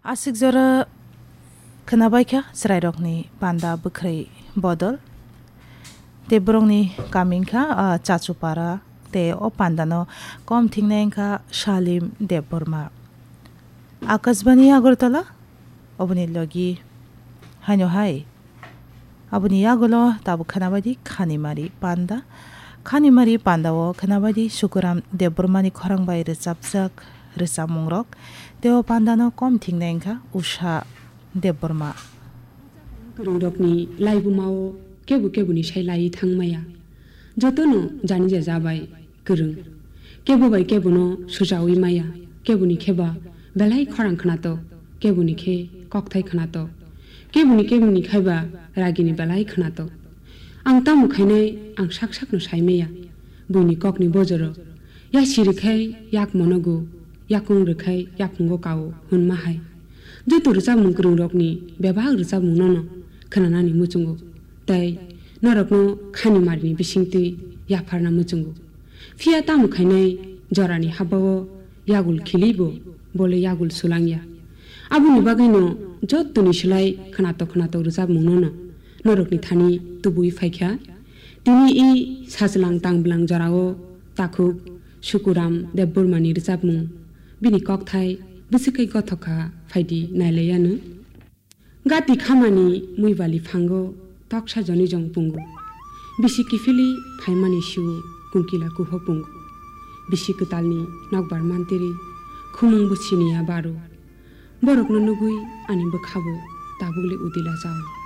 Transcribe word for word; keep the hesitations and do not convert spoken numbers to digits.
Aswk jora khwnabaikha chwrairokni panda bwkhwrwi bodol. Tei borokni kami wngkha, ah, Chachupara, tei o pandano kom thingnai wngkha Salim Debbarma. Akashbani Agartala, oboni logi haino hai. Aboni yagulo tabuk khwnabaidi Khanimari panda. Khanimari pandao khwnabaidi Sukuram Debbarmani khorang bai rwchapjak rwchapmungrok. Tei o pandano kom thingnai wngkha Usha Debbarma. Kwrwngrokni laibumao kebo keboni sai laiwi thangmaya. Jotono janija jabai kwrwng. Kebo bai kebono sujawi maya. Keboni kheba belai khorang khwnatok, keboni khe kokthai khwnatok. Keboni keboni khaiba ragini belai khwnatok. Ang tamo khainai ang sak sakno saimaya. Buini kokni bojoro. Yasi rwkhai yak monogo, yakung rwkhai yakungo kao hwnma hai. Joto rwchapmung kwrwngrokni bebak rwchapmungnono khwnanani muchungo. Tei norokno Khanimarini bisingtwi yapharna muchungo. Phiya tamo khainai jorani habao yagul khilibo bole yagul sulangya. Aboni bagwino jottoni slai khwnatok khwnatok rwchapmungnono norokni thani tubui phaikha. Tini i sajwlang tangbwlang jorao takhuk Sukuram Debbarmani rwchapmung, bini kokthai bwswk khe gothok kha, phaidi nailaiyano. Gati khamani muibali phango toksa joni jong pungo. Bisi kiphilwi phaimani siwo kungkila kuho pungo. Bisi kwtalni nokbar mantiri khumung bo siniya baro. Borokno nugwi ani bwkhabo tabukle udila jao.